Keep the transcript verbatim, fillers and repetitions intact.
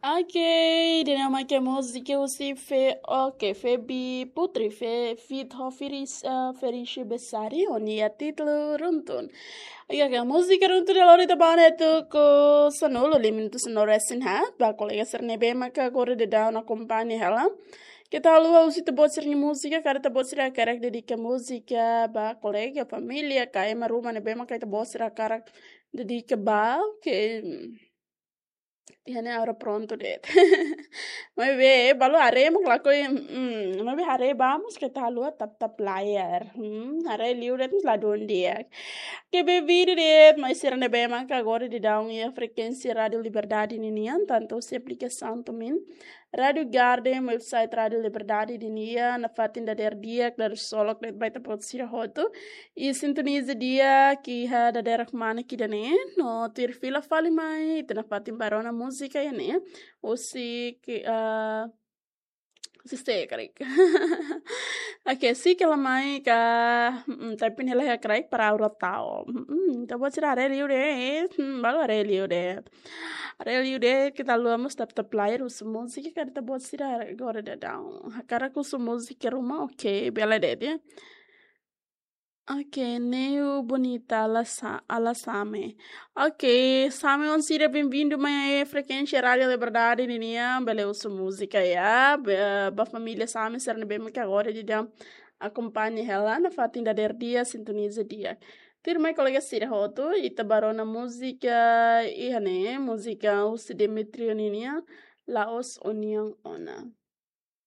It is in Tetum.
Ok, ida-ne'e mak múzika husi Fe, ok, Febi Putri, Fe, feat ho Feris, eh, Ferishi Besari, ho nia títulu Runtun. Ok, ok, múzika Runtun de Lori Tabane tuku sanulu, lima minutu sanulu resin haat, ba kolega sira ne'ebé maka agora daudaun akompaña hela. Keta haluha husu ita-boot sira-nia múzika, karik ita-boot sira hakarak dedika múzika ba kolega, família, ka ema ruma ne'ebé maka ita-boot sira hakarak dedika ba, ke, iha ne'e agora prontu de'it. Maibé, balu haree mak lakohi, mm, maibé haree ba mós keta haluha tap-tap layar. Hmm, haree liu de'it mós ladún di'ak. Ke bem-vindo de'it, mai sira ne'ebé maka agora daudaun iha frekuénsia Rádio Liberdade ninian, tantu husi aplikasaun tumin, Rádio Garden, website Rádio Liberdade ninian, nafatin dadeer di'ak, dadeer solok de'it ba ita-boot sira hotu. I sintoniza di'ak iha dadeer kmana ida-ne'e, no tuir fila fali mai, ita nafatin bá rona múzika iha ne'e. Husi ke, ah, husi sé karik. Ok, sé kala mai ka, mm, tapi ne'e la iha karik para aura tau. Mm, ita-boot sira haree liu de'it, mm, balu haree liu de'it. Haree liu de'it, keta haluha mós tap-tap layar husu múzika, karik ita-boot sira agora daudaun hakarak husu múzika ruma, ok, bele de'it, ya. Ok, Neu Bonita, Ala Sa-, Ala Same. Ok, Same oan sira bem-vindo mai frekuénsia Rádio Liberdade ninian, bele husu múzika, ya. Be-, ba família Same sira ne'ebé maka agora daudaun akompaña hela, nafatin dadeer di'ak, sintoniza di'ak. Tuirmai kolega sira hotu, ita bá rona múzika iha ne'e, múzika husi Demetrio ninian, La'ós Ó-nian Ona.